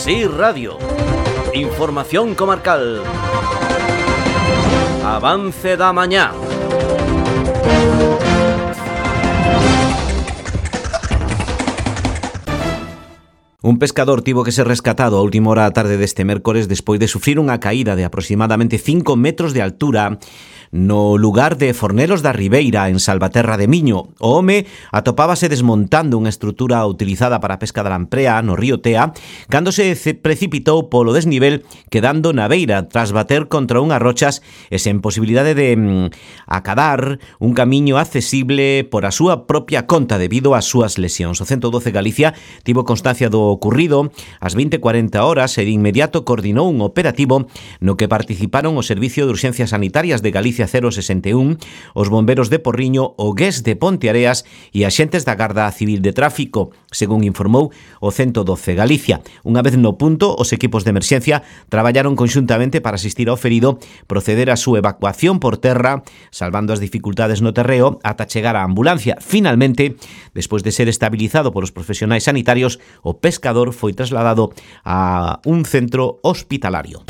Sí Radio. Información comarcal. Avance da mañá. Un pescador tivo que ser rescatado a última hora da tarde deste mércores despois de sufrir unha caída de aproximadamente 5 metros de altura no lugar de Fornelos da Ribeira, en Salvaterra de Miño. O home atopábase desmontando unha estrutura utilizada para a pesca da lamprea no río Tea cando se precipitou polo desnivel, quedando na beira tras bater contra unhas rochas e sen posibilidade de acadar un camiño accesible por a súa propia conta debido ás súas lesións. O 112 Galicia tivo constancia do ocurrido ás 20:40 horas e de inmediato coordinou un operativo no que participaron o Servicio de Urxencias Sanitarias de Galicia 061, os bomberos de Porriño, o GES de Ponteareas e axentes da Garda Civil de Tráfico, según informou o 112 Galicia. Unha vez no punto, os equipos de emerxencia traballaron conxuntamente para asistir ao ferido, proceder á súa evacuación por terra, salvando as dificultades no terreo ata chegar á ambulancia. Finalmente, despois de ser estabilizado polos profesionais sanitarios, o pescador foi trasladado a un centro hospitalario.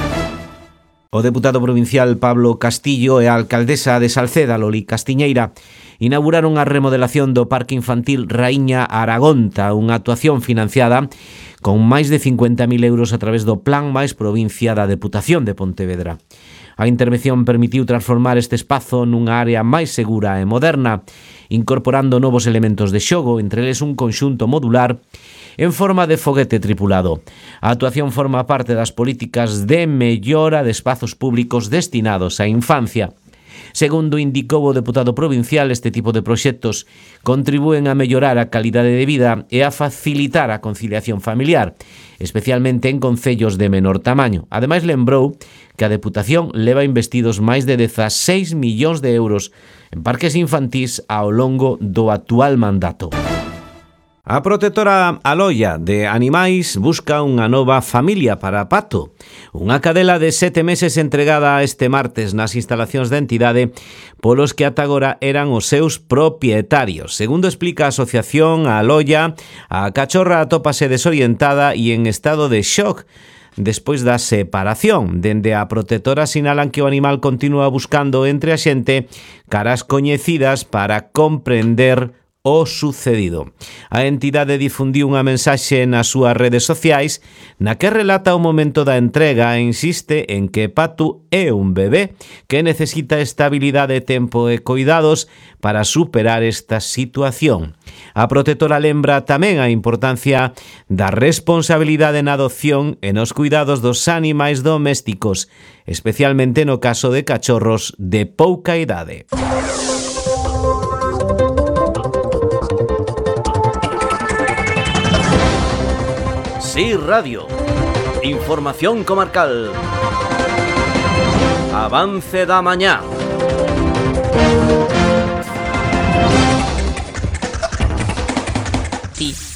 O deputado provincial Pablo Castillo e a alcaldesa de Salceda, Loli Castiñeira, inauguraron a remodelación do Parque Infantil Raíña Aragonta, unha actuación financiada con máis de 50.000 euros a través do Plan Mais Provincia da Deputación de Pontevedra. A intervención permitiu transformar este espazo nunha área máis segura e moderna, incorporando novos elementos de xogo, entre eles un conxunto modular en forma de foguete tripulado. A actuación forma parte das políticas de mellora de espazos públicos destinados á infancia. Segundo indicou o deputado provincial, este tipo de proxectos contribúen a mellorar a calidade de vida e a facilitar a conciliación familiar, especialmente en concellos de menor tamaño. Ademais, lembrou que a Deputación leva investidos máis de 16 millóns de euros en parques infantís ao longo do actual mandato. A protectora Aloia de Animais busca unha nova familia para Pato. Unha cadela de 7 meses entregada este martes nas instalacións da entidade polos que ata agora eran os seus propietarios. Segundo explica a asociación Aloia, a cachorra atópase desorientada e en estado de shock despois da separación. Dende a protectora sinalan que o animal continúa buscando entre a xente caras coñecidas para comprender o sucedido. A entidade difundiu unha mensaxe nas súas redes sociais na que relata o momento da entrega e insiste en que Patu é un bebé que necesita estabilidade, tempo e cuidados para superar esta situación. A protectora lembra tamén a importancia da responsabilidade na adopción e nos cuidados dos animais domésticos, especialmente no caso de cachorros de pouca idade. Sí Radio. Información comarcal. Avance da mañá. Sí.